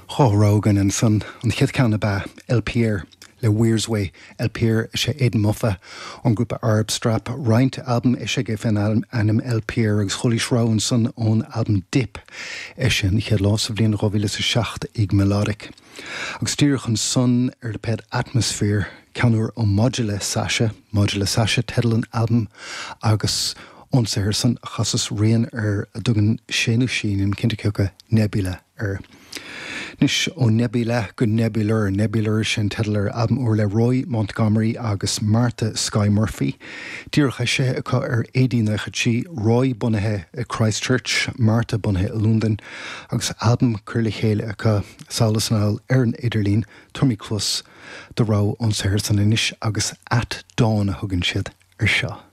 Dá rogha againn ansan. An chéad cheann ab ea LPR le Weir's Way. LPR is ea Aidan Moffa ón ngrúpa Arab Strap. Roinnt albam eisithe aige fén ainm LPR agus chualaís rogha ansan ón albam Dip, eisithe an chéad lá sa bhliain 2007 ag Melodic. Agus díreach ansan ar lipéad Atmosphere, ceann úr ó Modular Sasha, Modular Sasha teideal an albaim agus ón saothar san a chasas rian ar a dtugann sé nó sí, nílim cinnte cé acu, Nebula air. Anois, ó Nebula go Nebular, Nebular sin teideal ar albam úr le Roy Montgomery agus Martha Skye Murphy, díreach eisithe acu ar AD 93, Roy bunaithe i Christchurch, Martha bunaithe i Londain, agus albam curtha le chéile acu sall is anall ar an idirlíon, tabharfaimid cluas do rogha ón saothar san anois agus At Dawn a thugann siad ar seo.